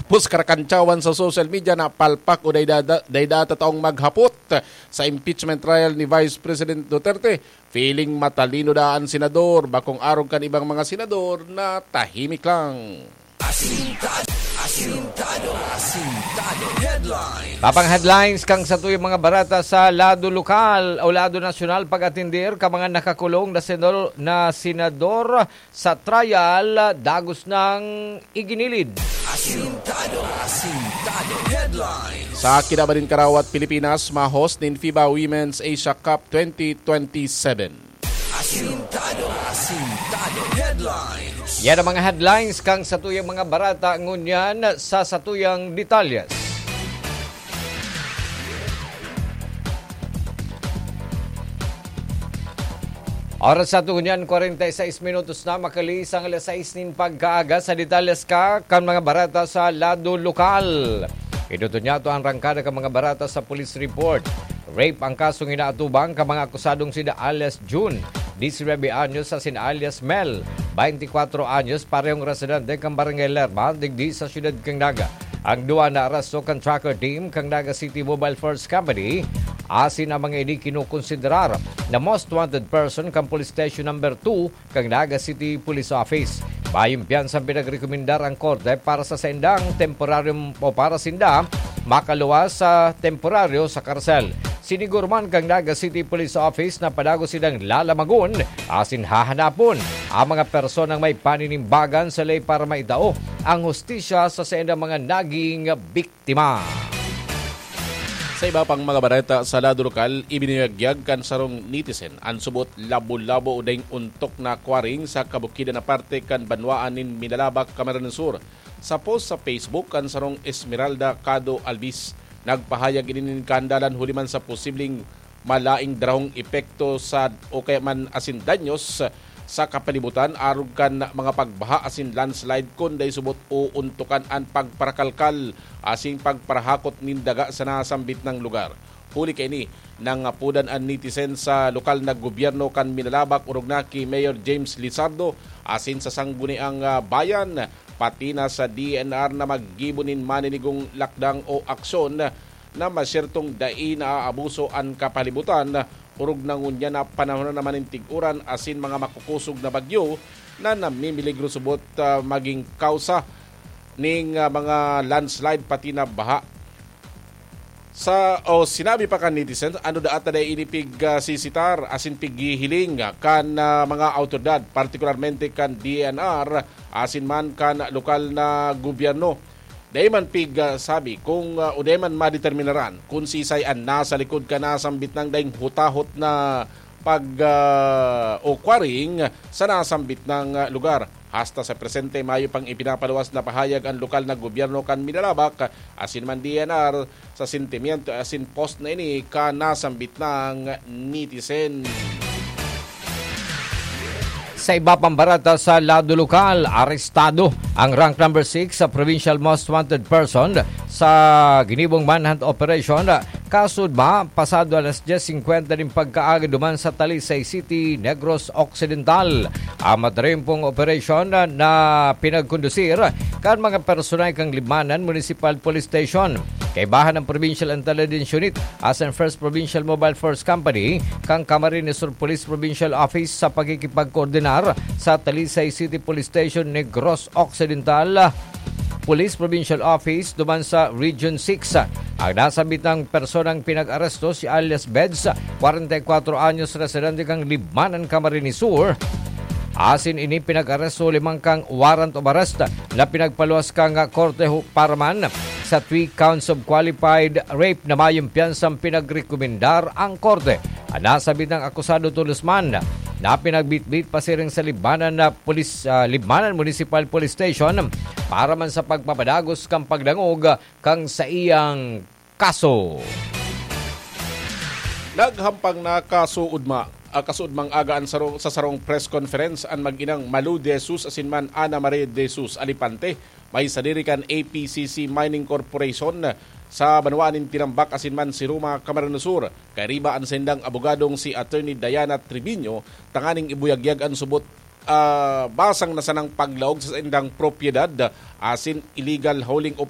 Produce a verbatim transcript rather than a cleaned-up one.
Pus karakantsawan sa social media na palpak o dayda, dayda ta taong maghapot sa impeachment trial ni Vice President Duterte. Feeling matalino da an senador, bakong arog kan ibang mga senador na tahimik lang. Asintado, asintado, asintado. Headlines. Tapang headlines kan satuyang mga barata sa lado lokal o lado nasyonal, pag-atender kan mga nakakulong na senador, na senador sa trial, dagos nang iginilid. Asintado, asintado. Headlines. Sa kinaban nin karawat Pilipinas, ma-host nin FIBA Women's Asia Cup twenty twenty-seven. Asintado, asintado. Headlines. Yan ang mga headlines kan satuyang mga barata, ngunyan sa satuyang detalyes. Oras sa tunyan, kwarenta y seis minutos na, makalihis ang alas sais nin pagkaaga. Sa detalyes ka kan mga barata sa lado lokal. Iduto niya to ang rangkada kan mga barata sa police report. Rape ang kasong inaatubang kan mga akusadong sina alias June, disinwebe anyos, asin alias Mel, baintikwatro anyos, parehong residente kan Barangay Lerma, digdi sa siyudad kan Naga. Ang duwa naaresto kan tracker team kan Naga City Mobile Force Company, asin ang mga ini kinokonsiderar na most wanted person kan Police Station Number two kan Naga City Police Office. Mayong piyansa ang pinagrekomendar ang korte para sa saindang temporaryong o para sinda makaluwas sa temporaryo sa karsel. Siniguro man kan Naga City Police Office na padagos sindang lalamagon asin hahanapon ang mga personang may paninimbagan sa ley para maitao ang hustisya sa saindang mga naging biktima. Sa iba pang mga bareta sa lado lokal, ibinuyagyag kan sarong netizen an subot labo-labo o daing ontok na quarrying sa kabukidan na parte kan banwaan nin Minalabac, Camarines Sur. Sa post sa Facebook kan sarong Esmeralda Cado Alvis, nagpahayag ini nin kahandalan huli man sa posibleng malaing darahong epekto sa o kaya man asin danyos sa kapalibutan arog kan mga pagbaha asin landslide kun dai subot oontokan an pagparakalkal asin pagparahakot nin daga sa nasambit na lugar. Huli kaini, nangapodan an netizen sa lokal na gobyerno kan Minalabac, orog na ki Mayor James Lizardo asin sa Sangguniang, ah, Bayan, pati na sa D N R na maggibo nin maninigong lakdang o aksyon na masyertong dai naaabuso an kapalibutan, orog na ngunyan na panahon na naman nin tig-uran asin mga makukosog na bagyo na namimiligro subot, ah, maging kausa ning, ah, mga landslide pati na baha. Sa, o sinabi pa kan netizen, ano daa ta dai ini pig, ah, sisitar asin pighihiling kan, ah, mga awtoridad, partikularmente kan D N R asin man kan lokal na gobyerno. Dai man pig, ah, sabi kung, ah, o dai man madeterminaran kun sisay an nasa likod kan nasambit nang daing hutahot na pag, ah, o quarrying sa nasambit na, ah, lugar. Hasta sa presente, mayo pang ipinapaluwas na pahayag an lokal na gobyerno kan Minalabac, asin man D N R, sa sentimiento asin post na ini kan nasambit na netizen. Sa iba pang barata sa lado lokal, arestado ang rank number six sa Provincial Most Wanted Person sa ginibong manhunt operation, kasudma pasado alas dyes singkwenta nin pagkaaga duman sa Talisay City, Negros Occidental. Ang matrimpong operasyon na, na pinagkondusir kan mga personay kan Libmanan Municipal Police Station. Kaibahan ang Provincial Intelligence Unit asin First Provincial Mobile Force Company kan Camarines Sur Police Provincial Office sa pakikipagkoordinar sa Talisay City Police Station, Negros Occidental Police Provincial Office duman sa Region six. Ang nasambit na personang pinag-aresto si alias Beds, kwarenta y kwatro anyos, residente kan Libmanan, Camarines Sur. Asin ini pinag-aresto huli man kan warrant of arrest na pinagpaluwas kan korte hu-, para man sa three counts of qualified rape na mayong piyansang pinagrekomendar ang korte. Ang nasambit na akusado tolos man na pinagbitbit pasiring sa Libmanan na Police, ah, Libmanan Municipal Police Station para man sa pagpapadagos kan pagdangog kan saiyang kaso. Naghampang na kasuodma, ah, kasuodmang aga an sarong, sa sarong press conference an mag-inang Malu de Jesus asin man Ana Maria de Jesus Alipante, may sadiri kan A P C C Mining Corporation sa banwaan nin Tinambac asin man Siruma, Camarines Sur. Kairiba an saindang abogadong si Attorney Diana Triviño tanganing ibuyagyag an subot, ah, basang na sanang paglaog sa saindang propiedad asin illegal hauling of